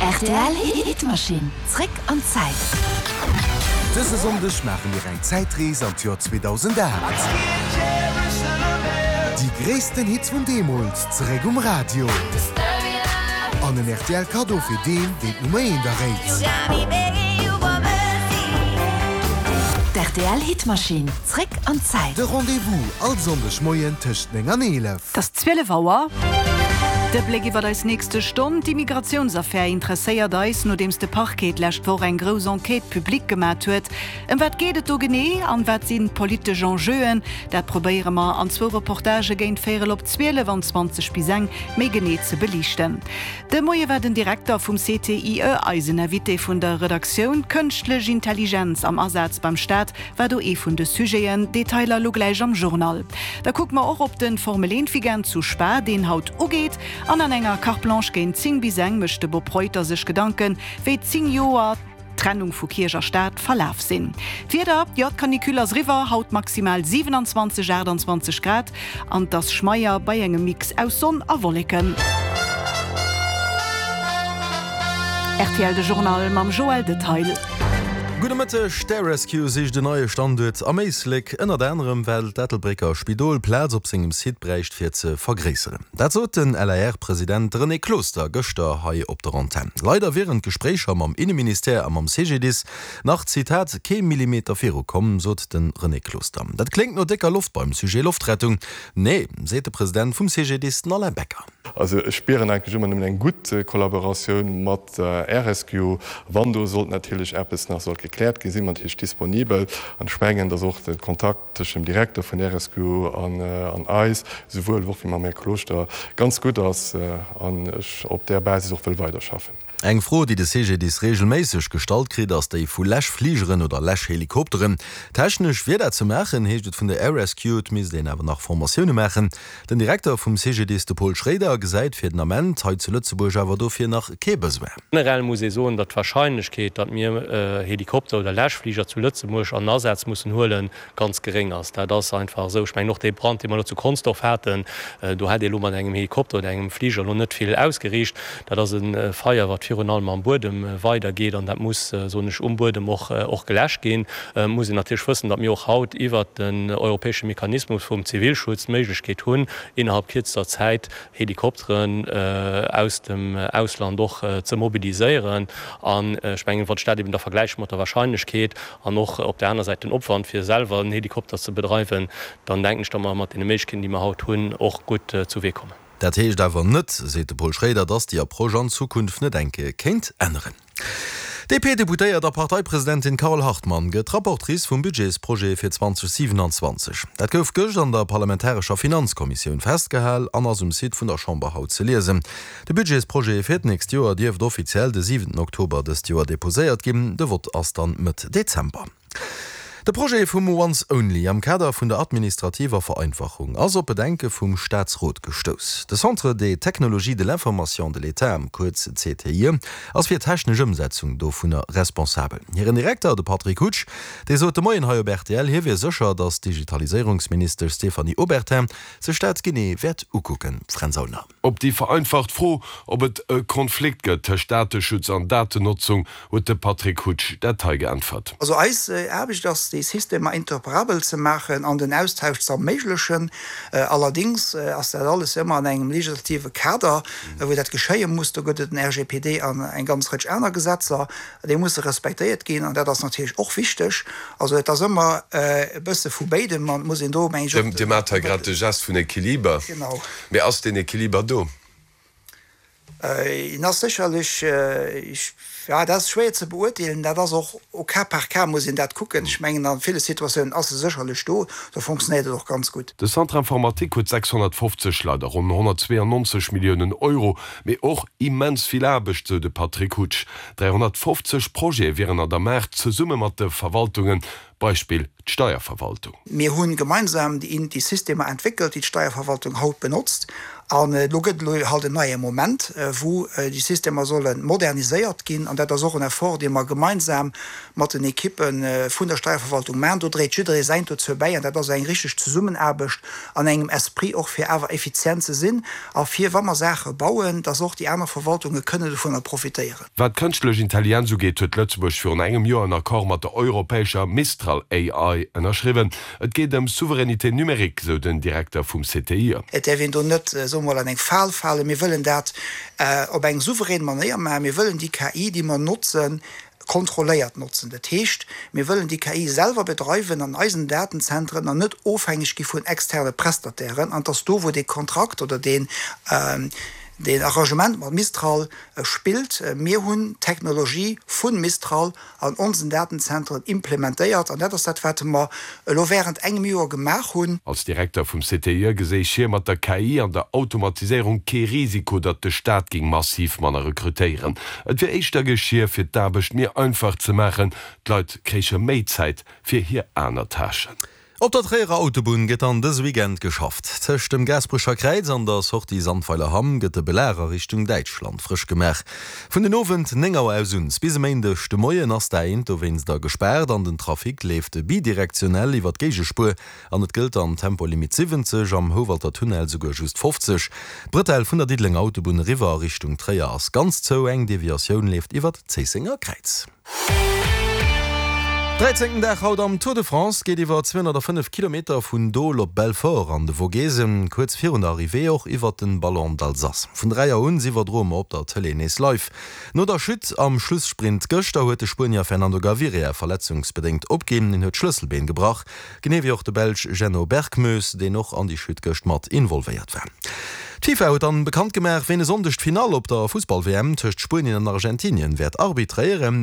Rtl Hitmaschinn, zréck an d'Zäit. Dëse Sonndeg maache mir eng Zäitrees an d'Joer 2008. Déi gréissten Hits vun deemools zeréck um Radio. An en rtl Kaddo fir deen, deen d'Nummer eent erréit. D'RTL Hitmaschinn, zréck an d'Zäit. De Rendez-vous all Sonndeg Moien tëscht 9 an 11. Et ass 12 Auer. De Bléck iwwer eis nächste Stonn, D'Immigratiounsaffär interesséiert eis, nodeems de Parquet d'lescht Woch eng grouss Enquête publique gemat huet. Ëm wat geet et do genee an wat sinn d'politesch Enjeuen? Dat probéiere mer an zwou Reportagë géint véierel op 12 an 20 bis eng méi genee ze beliichten. De Moie war den Direkter vum CTIE eisen Invité vun der Redaktioun. Kënschtlech Intelligenz am Asaz beim Staat War do ee vun de Sujeten. Detailer elo gläich am Journal. Da kucke mer och op den Formel 1 Weekend zu Spa, deen haut ugeet. An an enger Carte Blanche géint 10 bis eng mécht de Bob Reuter sech Gedanken, wéi 10 Joer Trennung vu Kierch a Staat verlaf sinn. D'Wieder, jo d'Canicule ass eriwwer, haut maximal 27, 28 Grad an 't ass schmeier bei engem Mix aus Sonn a Wolleken. Rtl De Journal mam Joël Detail. Gudde Mëtteg, D'Air Rescue sicht en neie Standuert am Éislek, ënnert anerem well d'Ettelbrécker Spidol Plaz op sengem Site bräicht fir ze vergréisseren. Dat sot den LAR-President René Closter gëschter hei op der Antenn. Leider wieren d'Gespréicher mam Inneministère a mam CGDIS nach, Zitat, kee Millimeter viru komm, sot de René Closter. Dat kléngt no décker Loft beim Sujet Loftrettung. Nee, seet de President vum CGDIS, den Alain Becker. Also ech spieren eigentlech ëmmer nëmmen eng gutt Kollaboratioun mat der RSQ. Wann do sollt natierlech eppes nach sollt gekläert ginn, si mer natierlech disponibel. An ech mengen, datt och de Kontakt tëschent dem Direkter vun der RSQ an eis, esouwuel och wéi mam Här Closter, ganz gutt ass an ech op där Basis och wëll weiderschaffen. Eng Fro, déi de CGDIS reegelméisseg gestallt kritt, ass déi vu Läschfligeren oder Läschhelikopteren. Technesch wier dat ze maachen, heescht et vun der Air Rescue. Et misst een awer nach Formatioune maachen. Den Direkter vum CGDIS, de Paul Schroeder, gesäit fir den Ament hei zu Lëtzebuerg awer dofir nach kee Besoin. Generell muss ee soen, datt d'Warscheinlechkeet, datt mir Helikopter oder Läschfliger zu Lëtzebuerg an Asaz mussen huelen, ganz geréng ass. Dat ass einfach esou. Ech mengen och dee Brand, dee mer elo zu Consdorf haten, do hätt ee elo mat engem Helikopter oder engem Fliger elo net vill ausgeriicht. Dat ass e Feier, wat virun allem am Buedem weidergeet an dat muss, soen ech, um Buedem och och geläscht ginn. Et muss een natierlech wëssen, datt mir och haut iwwert den europäesche Mechanismus vum Zivilschutz d'Méiglechkeet hunn, innerhalb kierzester Zäit Helikopteren aus dem Ausland och ze mobiliséieren. An ech mengen, wann ech dat eben da vergläiche mat der Wahrscheinlechkeet, An och op där aner Säit den Opwand, fir selwer en Helikopter ze bedreiwen, dann denken ech, datt mer mat deene Méiglechkeeten, déi mer haut hunn, och gutt zu Wee kommen. Dat heescht awer net, seet de Paul Schraeder, datt déi Approche an Zukunft net eng Kéier kéint änneren. D'DP-Deputéiert a Parteipresidentin Carole Hartmann gëtt Rapportrice vum Budgetsprojet fir 2027. Dat gouf gëscht an der parlamentarescher Finanzkommissioun festgehal an ass um Site vun der Chamber haut ze liesen. De Budgetsprojet fir d'nächst Joer dierft offiziell de siwenten Oktober dëst Joer deposéiert ginn. De Vott ass dann Mëtt Dezember. De Projet vum Once Only am Kader vun der administrativer Vereinfachung ass op Bedenke vum Staatsrot gestouss. De Centre des technologies de l'information de l'État, kuerz CTIE, ass fir d'technesch Ëmsetzung dovunner responsabel. Hiren Direkter, de Patrick Hutsch, dee sot de Moien hei op rtl, hie wier sécher, datt d'Digitaliséierungsministesch Stéphanie Obertin sech dat genee wäert ukucken. Fränz Aulner. Op déi vereinfacht Fro, ob et e Konflikt gëtt tëscht Dateschutz an Datennotzung, huet de Patrick Hutsch dat hei geäntwert. Also eis Aarbecht ass, déi Systemer interoperabel ze maachen an den Austausch ze erméiglechen. Allerdéngs ass dat alles ëmmer an engem legislative Kader, wou dat geschéie muss. Do gëtt et den RGPD an eng ganz Rëtsch aner Gesetzer. Déi musse respektéiert ginn an dat ass natierlech och wichteg. Also et ass ëmmer e bësse vu béidem an et muss een do, meng ech, och. Dir maacht hei grad de Gest vun Equiliber. Genau. Mee ass deen Equiliber do? En ass sécherlech, jo, dat ass schwéier ze beurteelen. Dat ass och au cas par cas muss een dat kucken. Ech mengen, a ville Situatiounen ass e sécherlech do, do fonctionnéiert et och ganz gutt. De Centre informatique huet 650 Leit a ronn 192 Milliounen Euro, mee och immens vill Aarbecht, sou de Patrick Hutsch. 350 Projete wieren an der Maach, zesumme mat de Verwaltungen, Beispill d'Steierverwaltung. Mir hu gemeinsam déi Systemer entwéckelt, déi d'Steierverwaltung haut benotzt. An elo gëtt elo halt en neie Moment, wou déi Systemer solle moderniséiert ginn. An dat ass och en Effort, dee mer gemeinsam mat den Ekippe vun der Steierverwaltung maachen. Do dréit jidderee säint dozou bäi. An dat ass eng richteg Zesummenaarbecht an engem Esprit och, fir awer effizient ze sinn a fir, wa mer Saache bauen, dass och déi aner Verwaltunge kënne dovunner profitéieren. Wat d'kënschtlech Intelligenz ugeet, huet Lëtzebuerg virun engem Joer en Accord mat der europäescher Mistral AI ënnerschriwwen. Et geet ëm Souveraineté numérique, sou den Direkter vum CTIE. Et däerf een do net, soe mer mol, an eng Fal falen. Mir wëllen dat op eng souverän Manéier maachen. Mir wëllen déi KI, déi mer notzen, kontrolléiert notzen. Dat heescht, mir wëllen déi KI selwer bedreiwen an eisen Datenzentren an net ofhängeg gi vun externe Prestatairen. An et ass do, wou dee Kontrakt oder deen Arrangement mat Mistral spillt. Mir hunn d'Technologie vu Mistral an onsen Datenzentren implementéiert an dat ass dat, wat mer elo während engem Joer gemaach hunn. Als Direkter vum CTIE geséich hie mat der KI an der Automatiséierung kee Risiko, datt de Staat géing massiv manner rekrutéieren. Et wier éischter Geschier, fir d'Aarbecht méi einfach ze maachen, d'Leit kréiche méi Zäit fir hir aner Tâchen. Op der Tréierer Autobunn gëtt dann dëse Weekend geschafft. Tëscht dem Gaasperecher Kräiz an der Sortie Sandweiler-Hamm gëtt de Belag a Richtung Däitschland frësch gemaach. Vun den Owend 9 Auer aus un bis e Méindeg de Moien ass d'A1 dowéinster gespaart an den Trafic leeft bidirektionell iwwer d'Géigespuer an et gëllt dann Tempolimit 70, am Houwalter Tunnel souguer just 50. D'Bretelle vun der Diddelenger Autobunn eriwwer a Richtung Tréier ass ganz zou, eng Deviatioun leeft iwwer d'Zéissenger Kräiz. Dräizéngten Dag haut am Tour de France, geet iwwer 205 Kilometer vun Dole op Belfort an de Vogesen, kuerz virun der Arrivée och iwwert den Ballon d'Alsace. Vun 3 Auer un iwwerdroe mer op der Tëlee nees live. No der Chute am Schlussprint gëschter huet de Spuenier Fernando Gaviria verletzungsbedéngt opginn. Hien huet d'Schlësselbeen gebrach. Genee wéi och de Belsch Jenno Berckmoes, deen och an déi Chute gëscht mat involvéiert war. D'FIFA huet dann bekannt gemaach, ween e Sonndeg d'Finall op der Fussball-WM tëscht Spuenien an Argentinien wäert arbitréieren.